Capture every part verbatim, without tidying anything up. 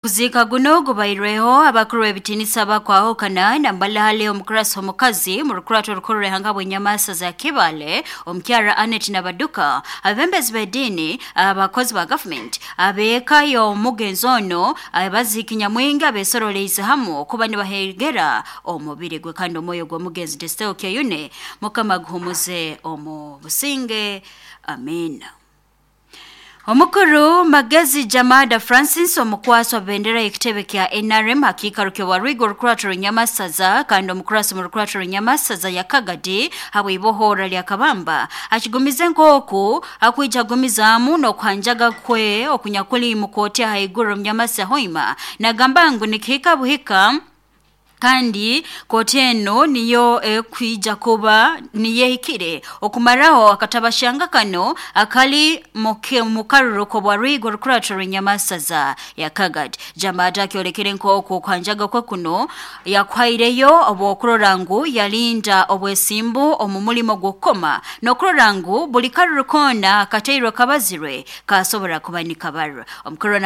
Kuziika guno gubairweho abakuru b'ebitinisa bakwahukana nambala hali omukurasi omukazi mu rukurato orukuru rw'ihanga bw'enyamasa za Kibale omukyara Anet Nabaduka, abebembezi b'ediini, abakozi ba gavumenti, abeeka y'omugenzi ono, abaziiki nyamwingi abesoroleize hamu okuba nibahegera omubiri gwe kandi omwoyo gw'omugenzi Desteo Kyeyune Mukama aguhumuze omu businge, amina. Omukuru Magezi Jamada Francis omukwasi wa bendera y'ekitebe kya N R M hakiikaro ky'owarwigo orukurato rw'enyamasaza kandi omukurasi mu rukurato rw'enyamasaza ya Kagadi habw'ibohora lya Kabamba akigumize nk'oku akwija agumizaamu n'okuhanjaga kwe okunyakuli mu kooti ahaiguru omunyamasa Hoima. Nagamba ngu nikihika buhika kandi kooti eno niyo ekwija kuba niyo ehikire okumaraho akatabashanga kano akali mu karuru k'obwarwigo orukurato rw'enyamasaza ya Kagadi. Jamada akyolekere nk'oku okuhanjaga kwe kuno yakuhaireyo obw'okurora ngu yalinda obwesimbu omu mulimo gw'okukoma n'okurora ngu buli karuru koona akateirwe kabazirwe kasobora kuba nikabarwa. Omukuru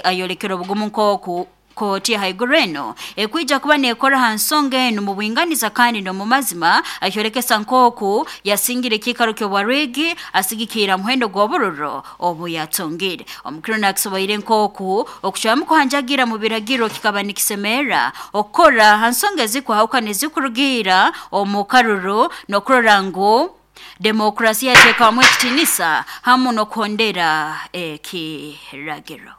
ayolekere obugumu nk'oku kooti haiguru eno ekwija kuba nekora ha nsonga enu mu bwinganiza kandi n'omu mazima, akyolekesa nk'oku yasingire ekiikaro ky'obwarwigi asigikira muhendo gw'obururo obu yatungire. Omukuru nakisoboire nk'oku okucwamu kuhanjagira mu biragiro kikaba nikisemerra okukora ha nsonga ezikwahukana ezikurugiira omu karuru n'okurora ngu demokrasiya yateekamu ekitinisa hamu n'okuhondera ekiragiro.